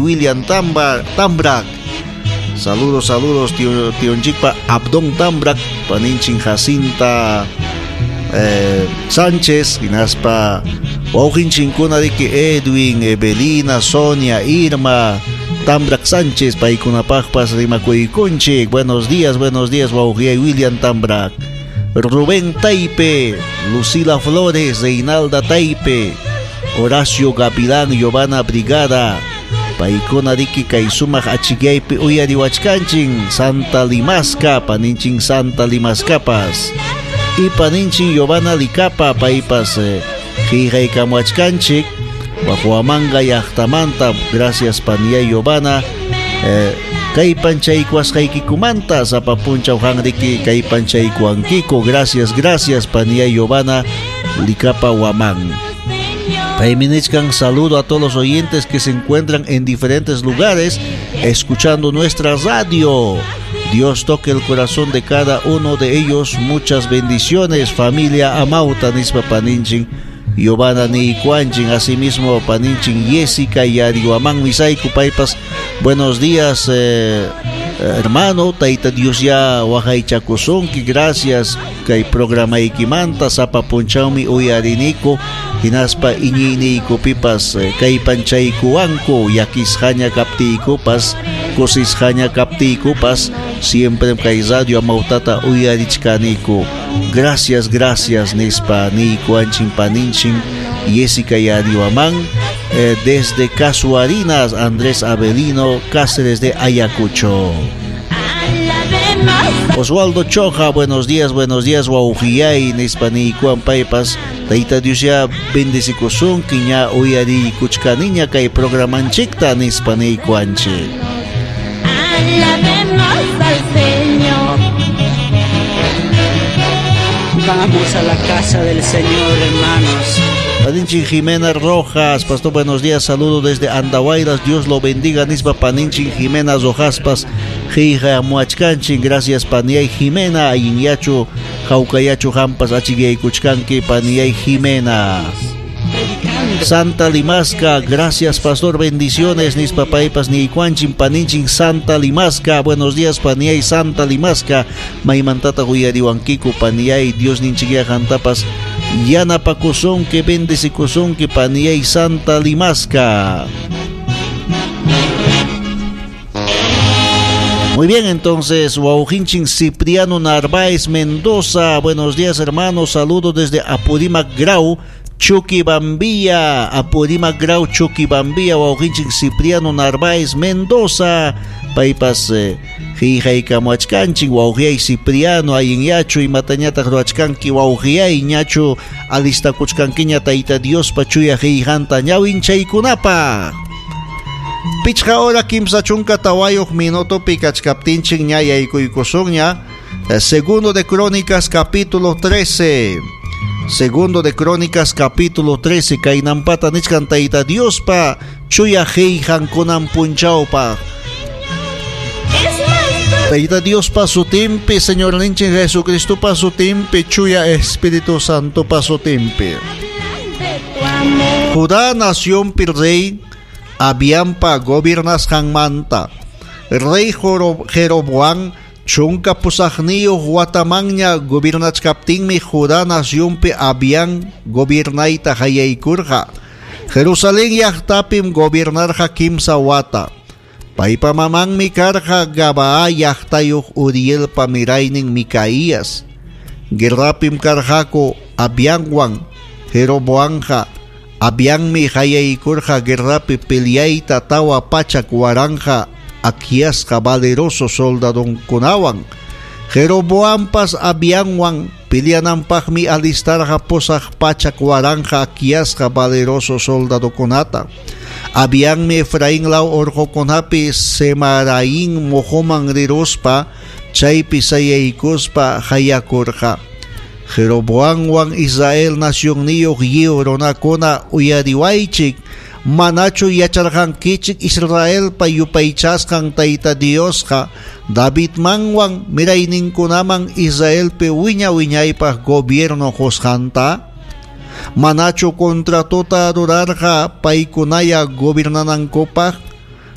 William Tambrak. Saludos, saludos, tío, tionchikpa Abdón Tambrak, paninchik Jacinta Sánchez, hinaspa wawqinchinkuna riki Edwin, Evelina, Sonia, Irma, Tambrak Sánchez, paykunapaqpas rimakuykunchik. Buenos días, wawqiyay William Tambrak. Rubén Taipe, Lucila Flores, Reinalda Taipe, Horacio Gavilán, Giovanna Brigada, paykuna riki kay sumaq achikyaypi uyariwachkanchin Santa Limasca, paninchin Santa Limascapas. Y paninchin Giovanna Licapa, paypas qillqaykamuachkanchik Huamanga llaqtamanta. Gracias paniyay Giovanna. Kay panchaykuwasqaykikumanta sapa punchaw qan riki kay panchaykuwankiku. Gracias, gracias paniyay Giovanna Licapa Huamán. Paymi nichkan saludo a todos los oyentes que se encuentran en diferentes lugares escuchando nuestra radio. Dios toque el corazón de cada uno de ellos. Muchas bendiciones, familia Amauta, nispa paninchin Giovanna Nikuanchin, asimismo paninchin Jessica Yarihuamán Misaiku paypas. Buenos días, hermano, Taita Dios ya waqaychakusunki, gracias kay programaykimanta sapa punchawmi uyariniku hinaspa iñiyniykupipas kay panchaykuwanku llakisqaña kaptiykupas kusisqaña kaptiykupas siempre kay radio Amautata uyarichkaniku. Gracias, gracias nispa niykuanchin paninchin Jessica Yarihuamán, desde Casuarinas, Andrés Avelino Cáceres de Ayacucho. Oswaldo Choja, buenos días, wawqiyay nispa niykuwan paypas. Tayta Dios ya bendecikusunki ña uyariykuchkaniña kay programanchikta nispa niykuanchik. Alabemos al Señor. Vamos a la casa del Señor, hermanos. Paninchin Jimena Rojas, pastor, buenos días, saludo desde Andahuaylas, Dios lo bendiga, nispa paninchin Jimena Rojaspas, qillqa muachkanchin, gracias paniyay Jimena, allinyachu, hawkayachu hampas achikaykuchkanki paniyay Jimena. Santa Limasca, gracias pastor, bendiciones, nispa paypas niykuanchin paninchin Santa Limasca, buenos días paniyay Santa Limasca, maymantata uyariwankiku paniyay, Dios ninchikya qantapas yanapakusunki, bendecikusunki paniyay Santa Limasca. Muy bien, entonces, wawqinchin Cipriano Narváez Mendoza, buenos días hermanos, saludos desde Apurímac Grau, Chuquibambilla, Apurímac Grau, Chuquibambilla, wawqinchin Cipriano Narváez Mendoza, paypas qillqaykamuachkanchin, wawqiyay Cipriano, allinyachu imatañataq ruwachkanki wawqiyay ñachu alistakuchkankiña Tayta Diospa chuya qillqanta ñawinchaykunapaq. Pichqa hora 34 minutopi kachkaptinchik ña yaykuykusunña. Segundo de Crónicas capítulo 13. Segundo de Crónicas capítulo 13 kaynampata nichkan Tayta Diospa chuya qillqankunan punchawpaq. Tayta Diospa sutinpi, Señorninchik Jesucristopa sutinpi, chuya Espíritu Santopa sutinpi. Judá nacionpi rey Abiampa gobernasqanmanta. Rey Jeroboam 18 watamanña gobernachkaptinmi Judá nacionpi Abiam gobernayta qallaykurqa. Jerusalén llaqtapim gobernarqa 3 wata. Paypa mamanmi karqa Gabaa llaqtayuq Urielpa miraynin Micaías. Guerrapim karqaku Abiamwan Jeroboamqa. Abiammi qallaykurqa guerrapi peleayta 400,000 akllasqa valeroso soldadonkunawan. Jeroboampas Abiamwan peleananpaqmi alistarqa 800,000 akllasqa valeroso soldadokunata. Abiammi Efraín law urqukunapi Semaraín mojoman riruspa chaypi sayaykuspa hayakurqa. Jeroboamwan Israel nacionniyuq lliw runakuna uyariwaychik, manachu yacharqankichik Israelpa yupaychasqan Tayta Diosqa Davidmanwan mirayninkunaman Israelpi wiña wiñaypaq gobierno qusqanta? Manachu contratota rurarqa paykunaya gobernanankupaq?